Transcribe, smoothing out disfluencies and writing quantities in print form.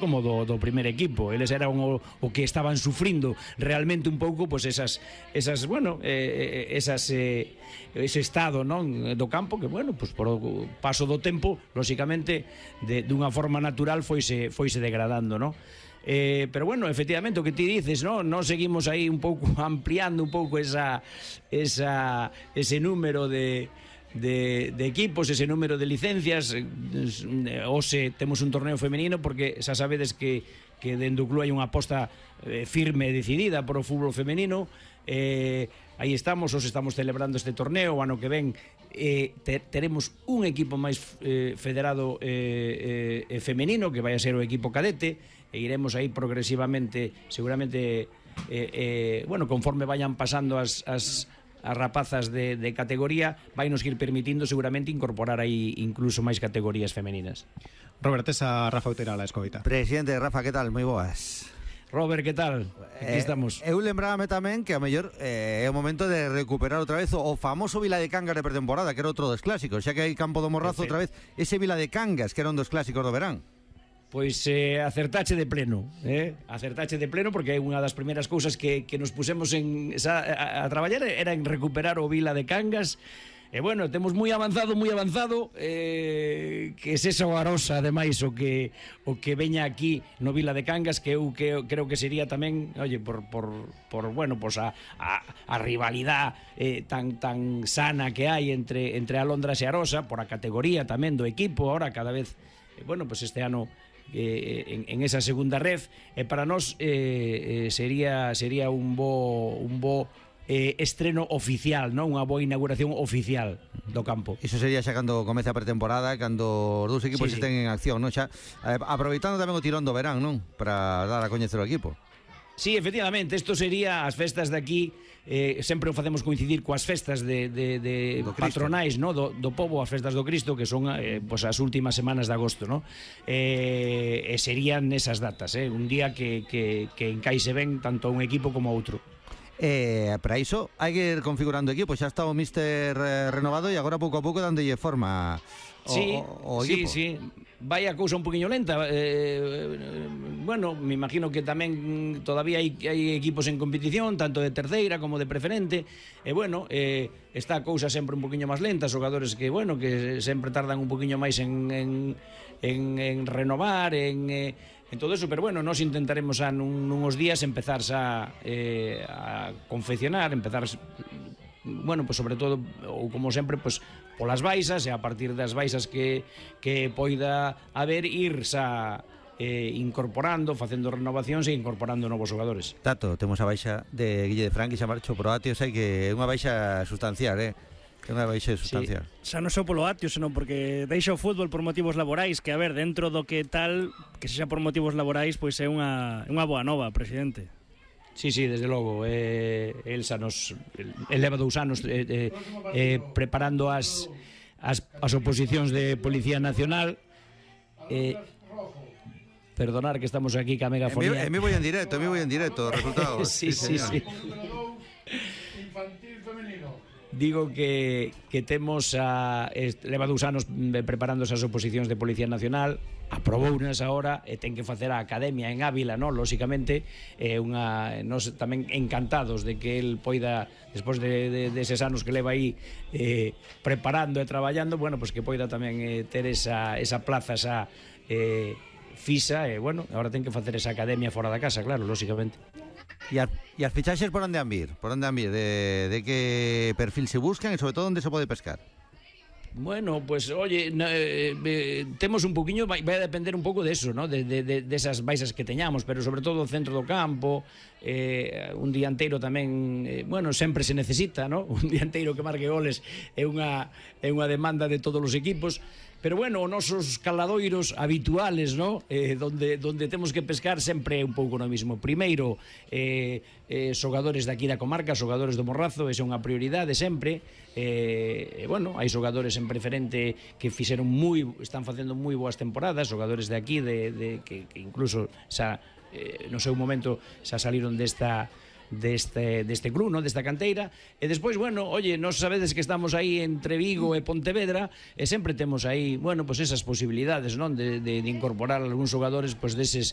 como do primer equipo. Eles eran o que estaban sufrindo realmente un pouco, pois ese estado, non, do campo que, bueno, pois por o paso do tempo, lóxicamente, dunha forma natural foise degradando, non? Pero bueno, efectivamente o que ti dices, ¿no? Nos seguimos aí un pouco ampliando un pouco ese número de equipos, ese número de licencias. Hoxe temos un torneo femenino porque xa sabedes que dentro do club hai unha aposta firme e decidida por o fútbol femenino. Aí estamos, hoxe estamos celebrando este torneo. O ano que ven teremos un equipo máis federado femenino, que vai a ser o equipo cadete, e iremos aí progresivamente, seguramente, bueno, conforme vayan pasando as rapazas de categoría, vai nos ir permitindo seguramente incorporar aí incluso máis categorías femeninas. Robert, esa Rafa Outera la escoita. Presidente, Rafa, que tal? Moi boas. Robert, que tal? Aquí estamos. Eu lembrábame tamén que a mellor é o momento de recuperar outra vez o famoso Vila de Cangas de pretemporada, que era outro dos clásicos, xa que hai Campo do Morrazo outra vez, ese Vila de Cangas, que era un dos clásicos do verán. Pois acertache de pleno, acertache de pleno, porque é unha das primeiras cousas que nos pusemos a traballar era en recuperar o Vila de Cangas. E bueno, temos moi avanzado, que es esa Arosa, ademais, o que veña aquí no Vila de Cangas, que eu creo que sería tamén, oye, por bueno, pues a rivalidade tan sana que hai entre Alondras e Arosa, por a categoría tamén do equipo, ahora cada vez, bueno, pues este ano en esa segunda ref, para nós sería un bo estreno oficial, non? Unha boa inauguración oficial do campo. Iso sería xa cando comece a pretemporada, cando os dous equipos estén en acción, non? Xa aproveitando tamén o tirón do verán, non? Para dar a coñecer o equipo. Sí, efectivamente, isto sería as festas de aquí, sempre o facemos coincidir coas festas de patronais, no? do pobo, as festas do Cristo, que son pues, as últimas semanas de agosto, no? E serían esas datas, un día que encaixe ben tanto a un equipo como a outro. Para iso hai que ir configurando o equipo. Xa está o míster renovado e agora pouco a pouco dándolle forma o equipo. Sí, vai a cousa un poquinho lenta. Bueno, me imagino que tamén todavía hai equipos en competición, tanto de terceira como de preferente, e bueno, está a cousa sempre un poquinho máis lenta, xogadores que, bueno, que sempre tardan un poquinho máis en renovar, en todo eso, pero bueno, nos intentaremos nunos días empezar a confeccionar, empezar, bueno, pues sobre todo, ou como sempre, pues polas baixas, e a partir das baixas que poida haber, incorporando, facendo renovacións e incorporando novos xogadores. Tato, temos a baixa de Guille de Franqui, xa marcho pro Atio, sei que é unha baixa sustancial, que unha baixa sustancial. Sí. Xa non só polo Atio, senón porque deixa o fútbol por motivos laborais, que a ver, dentro do que tal, que sexa por motivos laborais, pois é unha boa nova, presidente. Sí, desde logo. Elsa leva 2 anos preparando as oposicións de Policía Nacional. Perdonar que estamos aquí ca megafonía. Me voy en directo, resultados. Sí. Infantil femenino. Digo que temos leva 2 anos preparando esas oposicións de Policía Nacional, aprobounas agora e ten que facer a academia en Ávila, non? Lóxicamente, nos tamén encantados de que el poida, despois de eses anos que leva aí preparando e traballando, bueno, pues que poida tamén ter esa plaza, esa fisa, e bueno, agora ten que facer esa academia fora da casa, claro, lóxicamente. E as fichaxes por onde han vir? De que perfil se buscan e sobre todo onde se pode pescar? Bueno, pues oye, temos un poquinho, vai a depender un pouco de eso, ¿no? de esas baixas que teñamos, pero sobre todo o centro do campo, un dianteiro tamén, bueno, sempre se necesita, ¿no? Un dianteiro que marque goles é unha demanda de todos os equipos. Pero bueno, os nosos caladoiros habituales, ¿no? Donde temos que pescar sempre un pouco no mismo. Primeiro, xogadores daqui da comarca, xogadores do Morrazo, esa é unha prioridade sempre. Bueno, hai xogadores en preferente que están facendo moi boas temporadas, xogadores de aquí, que incluso xa no seu momento xa saliron deste club, ¿no? Desta canteira. E despois, bueno, oye, nos sabedes que estamos aí entre Vigo e Pontevedra e sempre temos aí, bueno, pues esas posibilidades, non? De incorporar algúns xogadores, pues deses